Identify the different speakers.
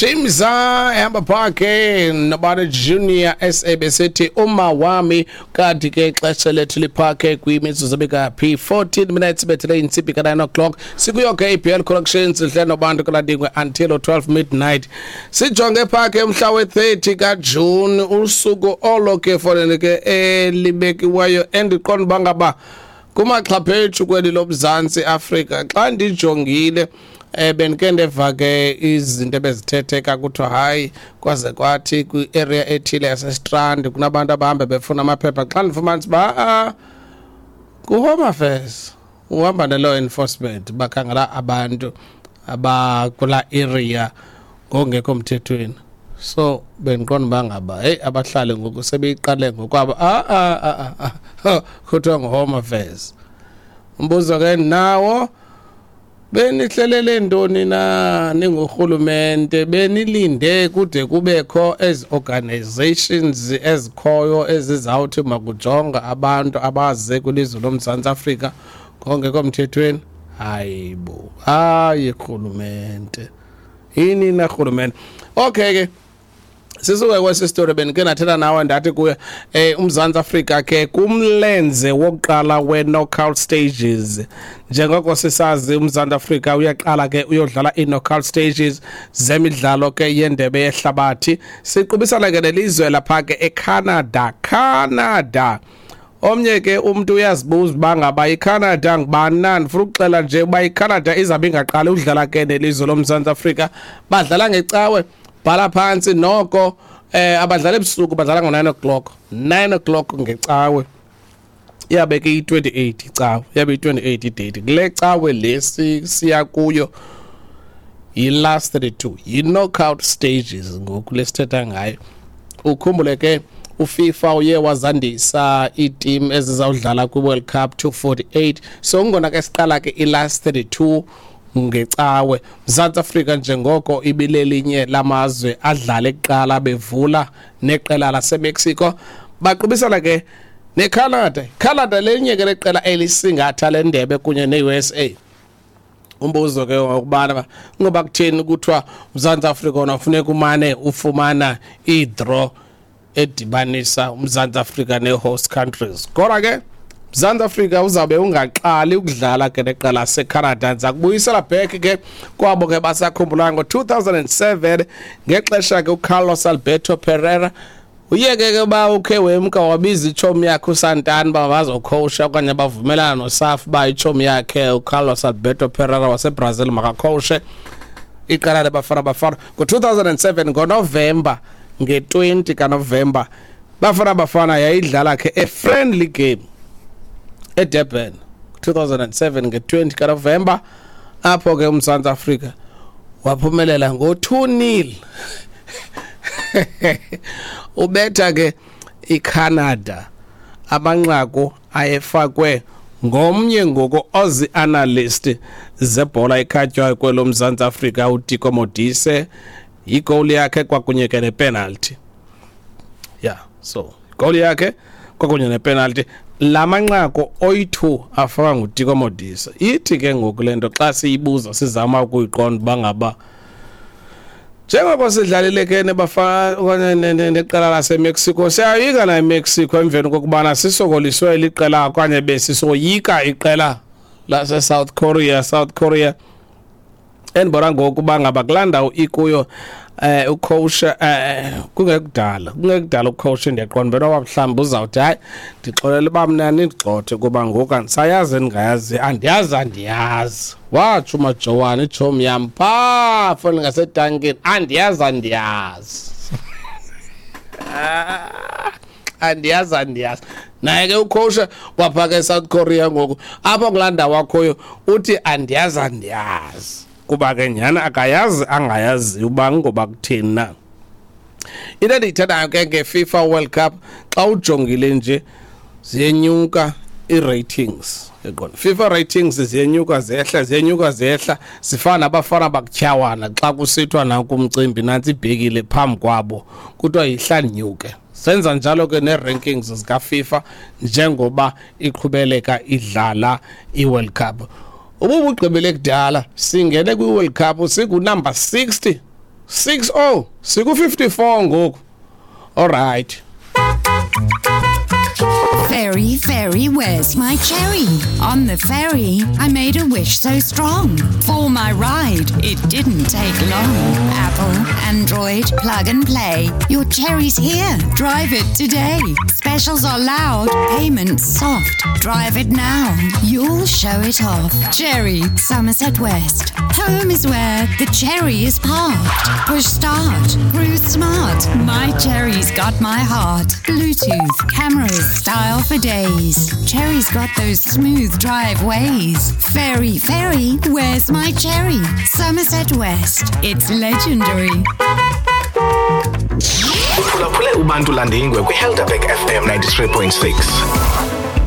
Speaker 1: Shimza ehamba phakhe noBani Junior SABC uma wami. Kanti ke ixesha lethu liphakhe kwimizuzu ebekaphi 14 minutes bethele intsimbi ka-9 o'clock. Sikuyo ke iBL Collections idle nobantu kaladingwe until 12 midnight. Sijonge phakhe umhla we-30 kaJuni, usuku olo ke foneni ke elibekiweyo endiqonda uba ngaba kumaxhaphethu kweli loMzantsi Afrika. Xa ndijongile, bendike ndeva ke izinto ebezithetheka, kuthiwa hayi, kwaze kwathi kwi-area ethile yaseStrand kunabantu abahambe befuna amaphepha. Xa ndifumanisa uba ku-Home Affairs uhamba ne-law enforcement, bakhangela abantu abakula area ngokungekho mthethweni. So bendiqonda uba ngaba heyi, abahlali ngoku sebeyiqale ngokwabo. Ah, kuthiwa ngu-Home Affairs. Umbuzo ke nawo, benihlelele ntoni na ningurhulumente? Benilinde kude kubekho ezi organizations ezikhoyo ezizawuthi makujonga abantu abaze kwilizwe loMzantsi Afrika ngongekho mthethweni? Hayi bo, hayi rhulumente, yini na rhulumente? Okay ke, sisuke kwesi story. Bendike ndathetha nawe, ndathi kuye uMzantsi Afrika ke kumlenze wokuqala we-knockout stages. Njengoko sisazi, uMzantsi Afrika uyaqala ke uyodlala ii-knockout stages zemidlalo ke yendebe yehlabathi. Siqubisana ke nelizwe lapha ke eCanada. Canada, omnye ke umntu uyazibuza uba ngaba iCanada ngubani na. Ndifuna ukuxela nje uba iCanada izabe ingaqali udlala ke nelizwe loMzantsi Afrika. Badlala ngeCawe, bhala phantsi noko, abadlala ebusuku, badlala ngo-9 o'clock, 9 o'clock ngeCawe. Iyabe ke iyi-28 iCawe, iyabe iyi-28 idate kule Cawe le siya kuyo. Yi-last 32, yi-knockout stages ngoku lesithetha ngayo. Ukhumbule ke uFIFA uye wazandisa iiteam ezizawudlala kwi-World Cup to 48. So ngona ke siqala ke i-last 32 ngeCawe. Mzantsi Afrika, njengoko ibilelinye lamazwe adlale kuqala bevula neqela laseMexico, baqubisana ke neCanada. Canada lenye ke leqela elisingatha le ndebe kunye ne-USA. Umbuzo ke ngokubana ngoba kutheni kuthiwa uMzantsi Afrika wona funeka umane ufumana i-draw edibanisa uMzantsi Afrika nee-host countries? Kodwa ke Mzantsi Afrika uzawube ungaqali ukudlala ke neqela laseCanada. Ndiza kubuyisela back ke kwabo ke basakhumbulayo, ngo-2007 ngexesha ke uCarlos Alberto Pereira uyeke ke uba ukhe wemka, wabiza itshomi yakhe uSantana uba bazokhowusha, okanye bavumelana noSAFA uba itshomi yakhe uCarlos Alberto Pereira waseBrazil makakhowushe iqela leBafana Bafana. Ngo-2007 ngoNovemba, nge-20 kaNovemba, Bafana Bafana yayidlala ke a friendly game eDurban 2007 nge-20 kaNovemba, apho ke uMzantsi Afrika waphumelela ngo-2-0, ubetha ke iCanada. Amanqaku ayefakwe ngomnye ngoku ozi-analyst zebhola ekhatywayo kwelo Mzantsi Afrika, uTiko Modise, igowuli yakhe kwakunye ke nepenalty. Yeah, so igowuli yakhe kwakunye nepenalty, la manqaku oyi-2 afakwa nguTiko Modise. Ithi ke ngoku le nto, xa siyibuza sizama ukuyiqonda uba ngaba njengoko sidlalile ke nebafana okanye neqela laseMexico, siyayoyika na iMexico emveni kokubana sisokoliswe liqela okanye besisoyika iqela lase-South Korea? South Korea endibona ngoku uba ngaba kulaa ndawo ikuyo, ucoach, kungekudala ucoach, ndiyaqonda benoba mhlawumbi uzawuthi hayi, ndixolela uba mna nindigxothe kuba ngoku andisayazi endingayazi, andiyazi, andiyazi. Watsho uMajowane, itshomi yam phaa foni ngasetankini, andiyazi, andiyazi, andiyazi, andiyazi. Naye ke ucoach waphaka eSouth Korea ngoku apho kulaa ndawo akhoyo uthi andiyazi, andiyazi, kuba ke nyhani akayazi angayaziyo uba ngoba kutheni na. Into endiyithandayo ke ngeFIFA World Cup, xa ujongile nje ziyenyuka ii-ratings, yaqonda, FIFA ratings ziyenyuka zehla, ziyenyuka zehla, zifana nabafana bakutyhawana xa kusithiwa nanku umcimbi, nantsi ibhekile phambi kwabo, kuthiwa yihla ndinyuke. Senza njalo ke nee-rankings zikaFIFA njengoba iqhubeleka idlala i-World Cup. Ububugqibele kudala singene kwi-World Cup sikunumber 60. 60 siku 54 ngoku. All right.
Speaker 2: Ferry, ferry, where's my cherry? On the ferry, I made a wish so strong. For my ride, it didn't take long. Apple, Android, plug and play. Your cherry's here. Drive it today. Specials are loud, payments soft. Drive it now. You'll show it off. Cherry, Somerset West. Home is where the cherry is parked. Push start. Cruise smart. My cherry's got my heart. Bluetooth, cameras, style for days. Cherry's got those smooth drive ways. Ferry, ferry, where's my cherry? Somerset West. It's legendary.
Speaker 3: Uphulaphule uBantu Landingwe kwiHelderberg FM 93.6.